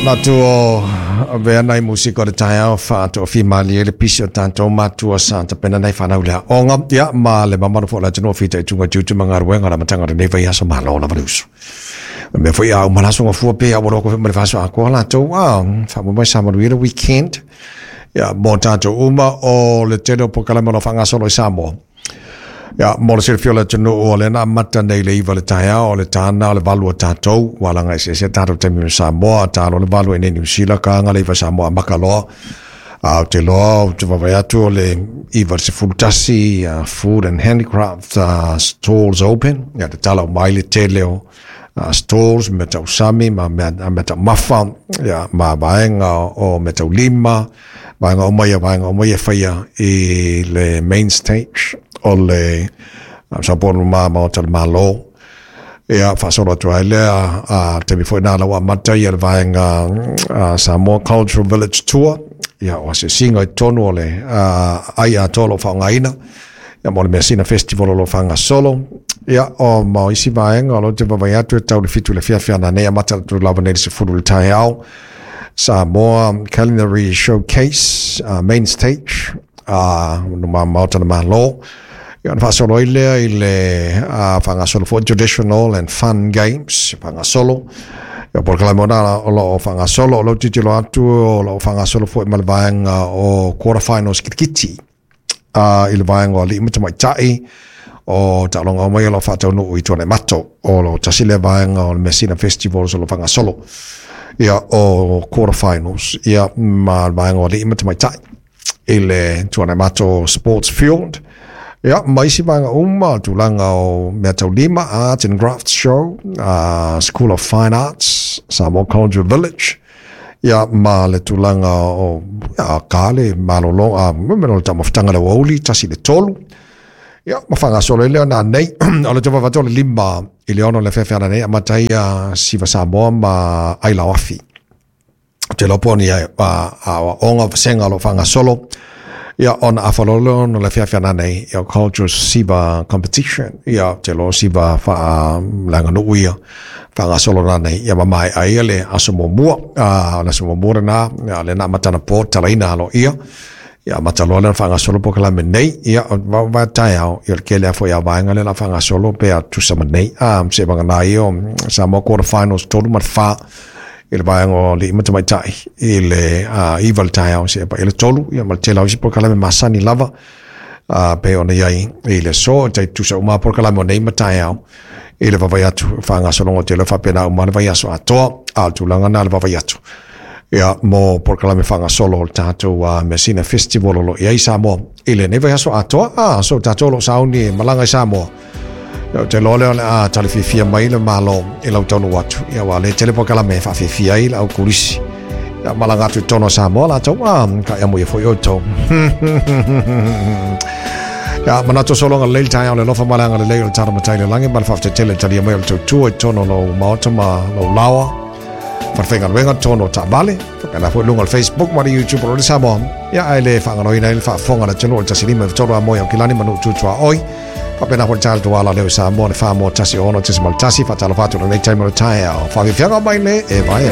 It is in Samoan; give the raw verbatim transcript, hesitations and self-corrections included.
Manatu o avea nai musika o le taeao faatoafimalie le pisi o tatou matua sa tapena nai fanau le aoga, ia ma le mamalu foi o le atunuu o fitaituga i tiute ma galuega o le amataga o lenei vaiaso. Malo lava le uso. O le mea foi a uma le aso gafua pe a ua loa ma le vaiaso atoa latou a faamoemoe sa manuia le weekend, ia mo tatou uma o le tele o polokalame o lo o faagasolo i Samoa. Ia, mo le silafia o le atunuu, o lea na amata nei le iva le taeao, o le tāna o le valu o tatou, ua laga eseese tatou taimi ma Samoa, talo le valu i nei Niu Sila, kaga le iva Samoa amaka loa. A o te loa, ou te vaavaai atu o le iva le sefulu tasi, uh, food and handicraft uh, stalls open, ia te tala o mai le tele o uh, stalls, mea tausami, ma mea, mea taumafa, ia, ma vaega o mea taulima, vaega uma ia, vaega uma ia faia i le main stage o le Samoa ma Maota o le Malo. Ia, faasolo atu ai lea, a taimi foi nā lau amata ia le vaega uh, Samoa Cultural Village Tour, ia o asiasiga i totonu o le uh, ai atoa o lo o faaaogaina, ia mo le Measina Festival o lo o faagasolo, ia o ma o isi vaega o lo o te vaavaai atu e tau le fitu i le afiafi ananei, amata atu lava nei i le sefulu i le taeao, Samoa Culinary Showcase, uh, main stage, uh, no ma Maota o le Malo. Ia ona faasolo ai lea i le uh, faagasolo foi traditional and fun games faagasolo. Ia polokalame ona o lo o faagasolo, o lo o tilotilo atu o lo o faagasolo foi ma le vaega o quarter finals kirikiti uh, i le vaega o alii ma tamaitai o taaloga uma ia o lo o faataunuu i Tuanaimato. O lo o tasi lea vaega o le Measina Festivals o lo o faagasolo, ia o quarter finals ia ma le vaega o alii ma tamaitai i le Tuanaimato Sports Field. Ia, ma isi vaega uma, tulaga o mea taulima, Arts and Crafts Show, uh, School of Fine Arts, Samoa Cultural Village, ia ma le tulaga o ia, ka le malolo, a me le taumafataga le aoauli, tasi i le tolu. Ia, ma faagasolo ai lea na nei, o le tauvavatau o le lima i le ono le afiafi ananei, amata ai ia Siva Samoa ma Ailao Afi. Te iloa po o ni aoaoga o vasega o lo o faagasolo, ia ona afa loa lea ona o le afiafi ananei, ia Cultural Siva Competition, ia te iloa siva faaleaganuu ia faagasolo nanei, ia ma maea ai le aso muamua. A o le aso muamua lena, ia lea na amata anapo talaina aloaia, ia amata loa lea ona faagasolo polokalame nei, ia va taeao, ia o le tele lava foi o vaega lea o le a faagasolo pe a tusa ma nei. A se vagana ia o Samoa Quarter Finals tolu ma le fa i le vaega o alii ma tamaitai i le iva le taeao seia paia le tolu, ia ma le tele o isi polokalame masani lava a pei ona i ai i le aso e tai tusa uma lava polokalame o nei ma taeao i le vaavaai atu faagasologa o te iloa faapena uma le vaiaso atoa. A o le tulaga lena le vaavaai atu ia mo polokalame faagasolo o le tatou uh, Measina Festival o lo o i ai Samoa i lenei vaiaso atoa. A so tatou o lo o sauni e malaga i Samoa, ia, ou te iloa lea o le a tali fiafia mai le Malo i lau taunuu atu, ia ua le tele polokalame e faafiafia ai le au turisi. Ia malaga atu i totonu o Samoa latou, a ka ea mo ia foi outou. Ia, manatu o sologa lelei le taeao le alofa ma le agalelei o le Tala Matai i le Lagi, ma le faafetai tele i le talia mai o le tautua i totonu o lou maota ma lou laoa falefaigaluega totonu o taavale, faapena foi i luga o le Facebook ma le YouTube o le Samoa. Ia, ae le faagaloina ai le faafofoga a le atunuu o le tasi lima tolu a moe Aukilani ma Nuu tu tuaoi. Faapena foi le tatou ala leo i Samoa le fa moa tasi ono tesi ma le tasi. Faatalofa atu i lenei taimi o le taeao. Faafiafiaga mai le e vaea.